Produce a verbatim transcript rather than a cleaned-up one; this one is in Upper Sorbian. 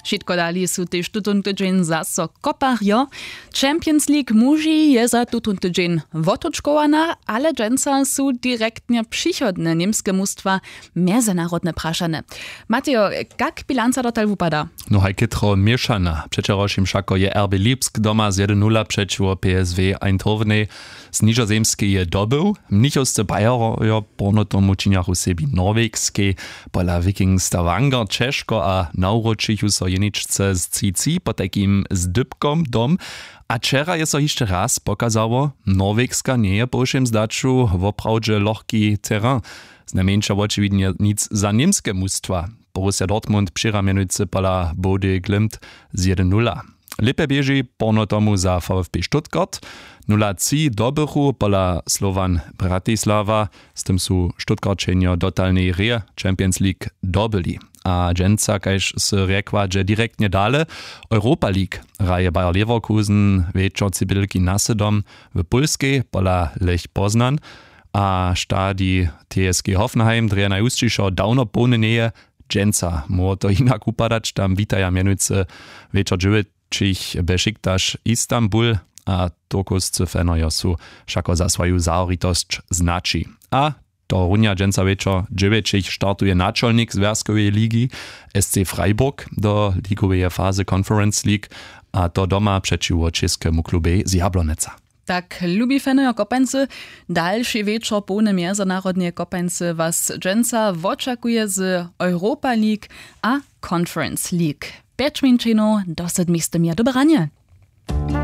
Wšitko dali su tež tutón tydźeń zaso koparjo. Champions League muži je za tutón tydźeń wotutškowana, ale dźensa su direktnje přichodne němske mustwa mjezynarodne prašane. Matejo, kak bilanca dotal wupada? No haj chětro měšana. Přećerošim wšako je R B Lipsk doma z jedyn nula přećiwo P S W Eindhovenej z Nižozemskeje dobył. Mnichowsce Bajerjo porno tomu činjachu sebi Norwegskej pola Viking Stavanger ćežko a nawróčichu so jeničce z tři tři potajkim z dypkom dom. A wčera je so hišće raz pokazało, Norwegska njeje po wšěm zdaću woprawdźe lochki terrain. Znajmjeńša wočiwidnje nic za němske mustwa. Borussia Dortmund přěra mjenujcy pola Body Glimt z jedyn nula. Lěpje běži porno tomu za VfB Stuttgart. Nula tři dobychu pola Slovan Bratislava. Z tym su Stuttgartšenjo dotalnej rě Champions League dobyli. A dźensa, kaž sy rjekła, dźe direktnje dale. Europa League hraje Bayer Leverkusen wječor cibilki na sydom w Pólskej pola Lech Poznan. A stadi T S G Hoffenheim drje najhusćišo dawno połny njeje. Dźensa móhło to hinak wupadać, tam witaja mjenujcy wječor dźewjećich Besiktas Istanbul. A turkowscy fanojo su wšako za swoju zahoritosć znaći. A tohorunja dźensa wječor dźewjećich startuje načolnik zwjazkoweje ligi S C Freiburg do ligoweje fazy Conference League, a to doma přećiwo českemu klubej z Jabloneca. Tak, lubi fanojo kopańcy, dalši wječor połny mjezynarodneje kopańcy was dźensa wočakuje z Europa League a Conference League. Pjeć minčenow do sydmich sty měr. Dobre ranje.